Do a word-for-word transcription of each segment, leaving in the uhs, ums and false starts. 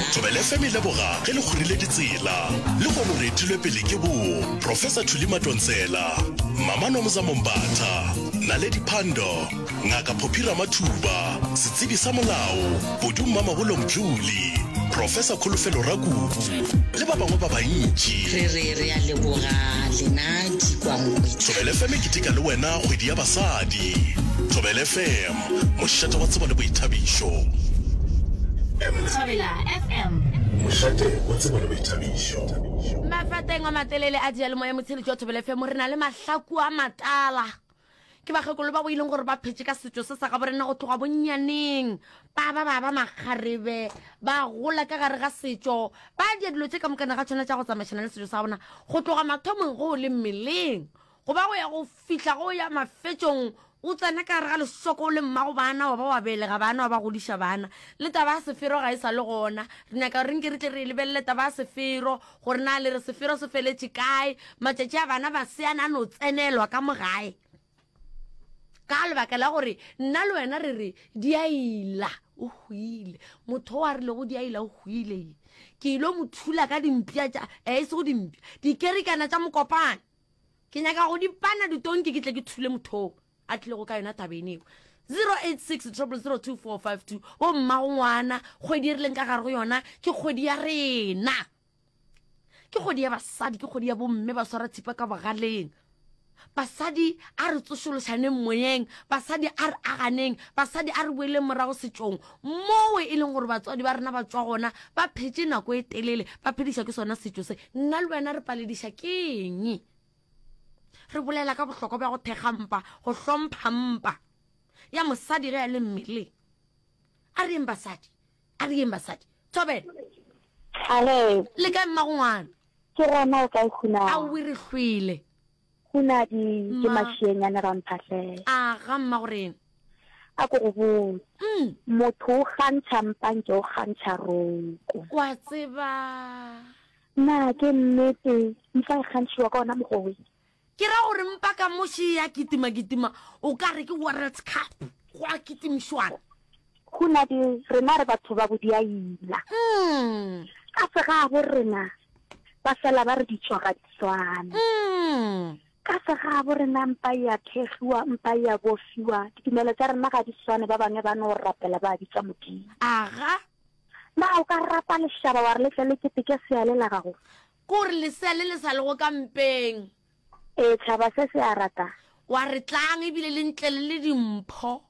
Thobela F M e leboga ge le kgorile ditsela. Lehono re etilwe pele ke bo Professor Thuli Madonsela, Mama Nomza Mombatha, Naledi Pandor, Ngaka Phophi Ramathuba, setsebi sa molao, Kodu Mmamabolo Mdluli, Professor Kholofelo Rakubu le ba bangwe ba bantši. Re re re a leboga lena dikwankwetla. Thobela F M e keteka le wena kgwedi ya basadi. Thobela F M, mošate wa tsebo le boithabišo. Thobela F M. Mošate wa tsebo le boithabišo. Mafateng a matelele a diyalemoya motsheletši wa Thobela F M re na le mahlaku a matala. Ke bakgekolo ba bo e leng gore ba phetše ka setšo se sa gabo rena go tloga bonnyaneng. Ba ba ba ba makgarebe, ba gola ka gare ga setšo, ba dia dilo tše ka mokana ga tšona tša go tsamaišana le setšo sa bona go tloga mathomong go le mmeleng, go ba go ya go fihla go ya mafetšong. O tsena ka gare ga lešoko o le mmago bana, wa ba wa belega bana, wa ba godiša bana. Le taba ya sefero ga e sa le gona. Re nyaka gore nke re tle re e lebelele taba ya sefero, gore na le re sefero se feletše kae. Matšatši a bana ba seana a no tsenelwa ka mo gae. Ka lebaka la gore nna le wena re re di a ila, o hwile. Motho o a rilego di a ila o hwile. Ke ilo mo thula ka dimpša tša, eh, e sego dimpša, dikerikana tša mokopane. Ke nyaka go di pana ditonki ke tle ke thule motho o a tlilego ka yona tabeng eo. zero eight six triple zero two four five two. Bo mmago ngwana, kgwedi e re leng ka gare go yona ke kgwedi ya rena. Ke kgwedi ya basadi, ke kgwedi ya bomme ba swara thipa ka bogaleng. Basadi a re tsošološaneng moyeng, basadi a re aganeng, basadi a re boeleng morago setšong moo e leng gore batswadi ba rena ba tšwa gona, ba phetše nako e telele, ba phediša ke sona setšo se. Nna le wena re palediša keng? Re bolela ka bohlokwa bja go thekga mpa, go hlompha mpa ya mosadi ge a le mmeleng. A re yeng basadi, a re yeng basadi. Thobela. Ale. Le kae mmago ngwana? Ke gona o kae Khuna? Aowi re hlwele. Khuna di ke Ma. mašienyane ga mphahlele. A ga mmago rena. A ko go botse. Mm. Motho o kgantšha mpa nke o kgantšha roko. Wa tseba. Na ke nnete mpa e kgantšhiwa ka ona mokgwa we? Ke ra gore mpa ka moši ya kitima kitima o ka re ke World Cup go a kitimišwana. Khuna di rena re batho ba bodiaila. Mm. Ka se ga bo rena ba fela ba re ditšo ga di swane. Mm. Ka se ga bo rena mpa ya thegiwa, mpa ya bofiwa, ditumelo tša rena ga di swane, ba bangwe ba no rapela ba bitsa Modimo. Aga. Na o ka rapa lešaba wa re le tle le keteke seale la gago? Kore lesea le le sa lego ka mpeng. Ee, tšhaba se se a rata. Wa re tlang ebile le ntle le le dimpho.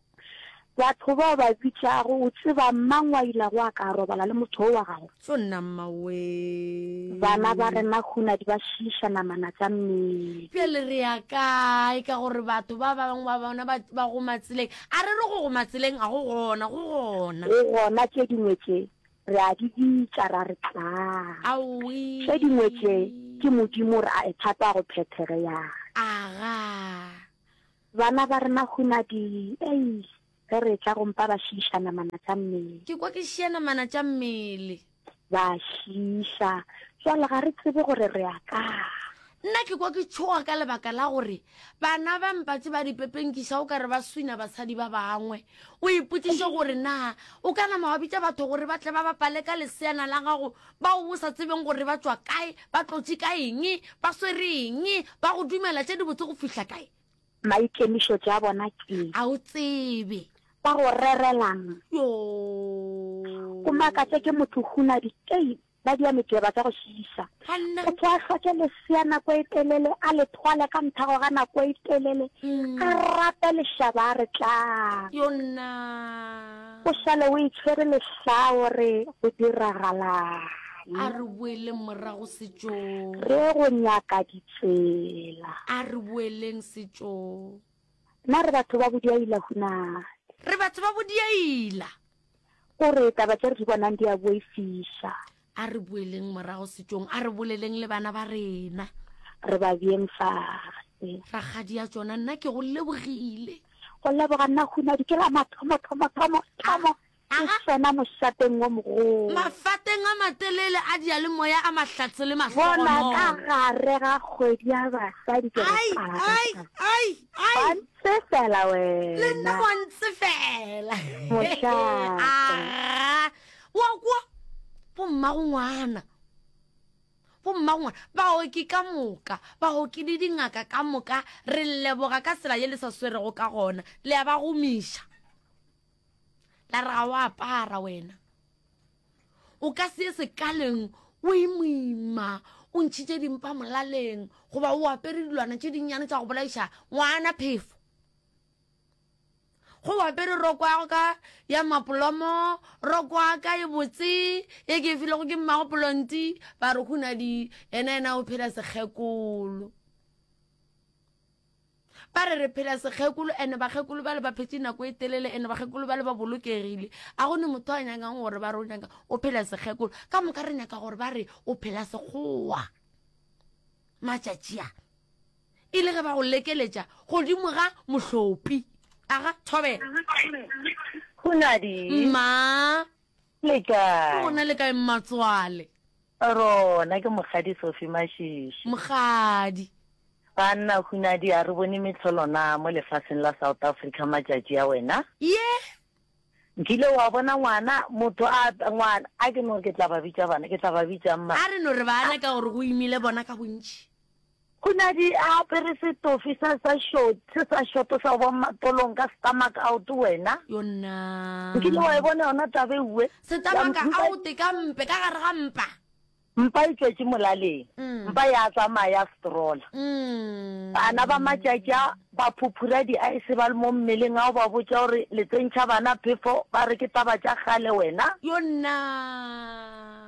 Batho bao ba bitšago, o tseba mang wa ila go a ka robala le motho o wa gago? Tšo nna mmawe. Bana ba rena khuna di ba šiša namana tša mmele. Bjale re ya kae ka gore batho ba bangwe ba bona ba, ba go matseleng. A re re go go matseleng a go gona, go gona. Go gona tše dingwe tše re a di bitša ra re tlang. Aowi. Tše dingwe tše ke Modimo re a e thata go phethege ya. Aga. Bana ba rena khuna di, ei, ge re tla go mpa ba šiša namana tša mmele. Ke kwa ke šia namana tša mmele. Ba šiša. Jwale ga re tsebe gore re ya kae. Nna ke kwa ke tšhoga ka lebaka la gore bana ba mpatše ba dipepenkiša o ka re ba swina basadi ba bangwe. O ipotšiše gore na o ka nama wa bitša batho gore ba tle ba bapale ka leseana la gago bao o sa tsebeng gore ba tšwa kae, ba tlotše ka eng, ba swere eng, ba go dumela tše dibotse go fihla kae. Maikemišetšo a bona ke A o tsebe. Ba go rerelang. Yo. O makatše ke motho huna dikei ba dia meteba tša go šiša. Banna. Motho a hloke lesea nako e telele, a le thwale ka nthago ga nako e telele, Mm. a rape lešaba a re tlang. Yo nna. O šale o itshwere lehlao re go diragalang. A re boeleng morago setšong. Re go nyaka ditsela. A re boeleng setšong. Nna re batho ba bodiaila huna. Re batho ba bodiaila. O re taba tše re di bonang di a boifiša. A re boeleng morago setšong, a re boleleng le bana ba rena. Re ba beeng fase. Rakgadi ya tšona, nna ke go lebogile. Go leboga nna huna di ke la mathomo, thomo, thomo, thomo. Aga. Ke tsena mošateng wo mogolo. Mafateng a matelele a diyalemoya a mahlatse le Bona mahlogonolo. ka gare ga kgwedi ya basadi ke re Ai, paka. ai, ai, ai. Wa ntsefela Le nna wena. wa ntsefela. Mošate. Aga. Wa kwa? Bo Bommago ngwana, bommago ngwana, baoki ka moka, baoki le dingaka ka moka, re leboga ka tsela ye le sa swerego ka gona. Le a ba gomiša. La re ga o apara wena. O ka se ye sekaleng o imoima, o ntšhitše dimpa molaleng, goba o apere dilwana tše dinnyane tša go bolaiša ngwana phefo. Go o apere roko ya ka ya mapolomo, roko ya ka e botse ye ke e filego ke mmago Polonti, ba re Hunadi yena yena o phela sekgekolo. Ba re re phela sekgekolo ene bakgekolo bale ba phetše nako e telele ene bakgekolo bale ba bolokegile. A go ne motho a nyakang gore ba re o nyaka o phela sekgekolo. Ka moka re nyaka gore ba re o phela sekgowa. Matšatši a e le ge ba go lekeletša godimo ga mohlopi. Aga, thobela. Hunadi. Mma. Le kae? Rona le kae mmatswale? Rona ke Mokgadi Sophie Mashishi. Mokgadi. Banna Hunadi a re bone mehlolo na mo lefaseng la South Africa matšatši a wena? Ye. Nkile wa bona ngwana motho a ngwana a ke no re ke tla ba bitša bana ke tla ba bitšang ma? A re no re bana ka gore go imile bona ka bontši. Hunadi a apere setofi sa sa short se sa shoto sa go ba matolong ka stomach out wena. Yona. Nkile wa e bona yona taba ewe? Stomach out ka mpe ka gare ga mpa. Mpa e tšwetše molaleng. Mpa ya tsamaya ya strola. Bana ba matšatši a ba phuphura di-ice ba le mo mmeleng a o ba botša gore le tsentšha bana phefo ba re ke taba tša kgale wena. Yona.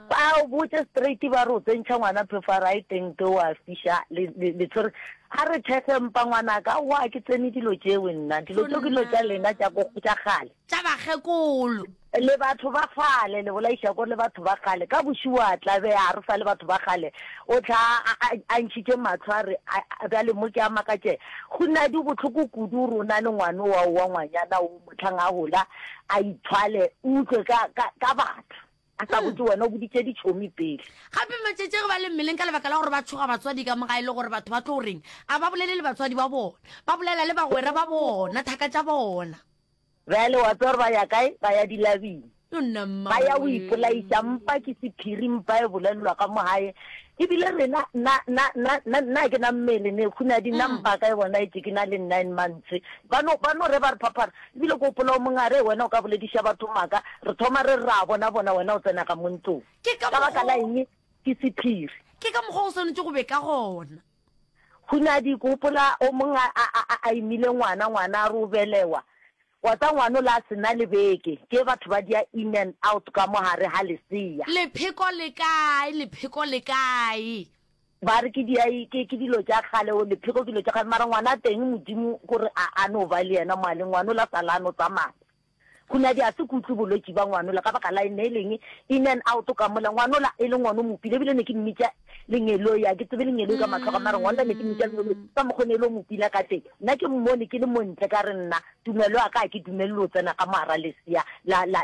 Ba o botše straight ba re o tsentšha ngwana phefo a re ai teng te o a fiša le le le tshwere a re thekge mpa ngwanaka aowa a ke tsene dilo tšeo nna dilo tšeo ke dilo tša lena tša ko tša kgale. Tša bakgekolo. Le batho ba kgale le bolaiša ko le batho ba kgale ka bošego a tla be a re sa le batho ba kgale o tla a a a ntšhitše mahlo a re a bjale mo ke a makatše go na di bohloko kudu gore o na le ngwano wa wa ngwanyana o mohlang a gola a ithwale o utlwe ka ka ka batho. A sa botše wena, o boditše ditšhomi pele. Gape matšatši ge ba le mmeleng ka lebaka la gore ba tšhoga batswadi ka mo gae le gore batho ba tlo reng, a ba bolele le batswadi ba bona, ba bolela le bagwera ba bona, thaka tša bona. Bjale wa tseba gore ba ya kae? Ba ya dilabing. Yo nna mma Ba ya go wee. ipolaiša. Mpa ke sephiri, mpa e bolelelwa ka mo gae. Ebile rena, nna, nna, nna, nna, nna ke na mmele ne, Khunadi, nna mpa ka e bona etše ke na le nine months. Ba no, ba no re ba re phaphara. Ebile ke gopola o mongwe a re, Wena o ka bolediša batho maaka, re thoma re re ra bona bona wena o tsena ka mo ntlong. Ke ka Ka baka la mokgwa eng? Ke sephiri. Ke ka mokgwa o swanetše go be ka gona. Khunadi, ke gopola o mongwe a, a, a, a imile ngwana, ngwana a re o belewa. Wa tsa ngwana o la se na le beke, ke batho ba dia in and out ka mo gare ga lesea. Lepheko le kae, lepheko le kae? Ba re ke dia, ke, ke dilo tša kgale, o lepheko ke dilo tša kgale, mara ngwana teng Modimo kore a, a no ba le yena mo a leng, ngwana o la sala a no tsamaya. Khunadi a se ke utlwe bolwetši ba ngwanola ka baka la eng, ne e leng in and out ka mola, ngwanola e le ngwana o mopile, ebile ne ke mmitša lengeloi, a ke tsebe lengeloi ka mahlo a ka, mara ngwanola ne ke mmitša lengeloi ka mokgo ne e le o mopila ka teng. Nna ke mmone ke le montle ka re nna tumelo ya ka ga ke dumelele o tsena ka mo gara lesea la, la, la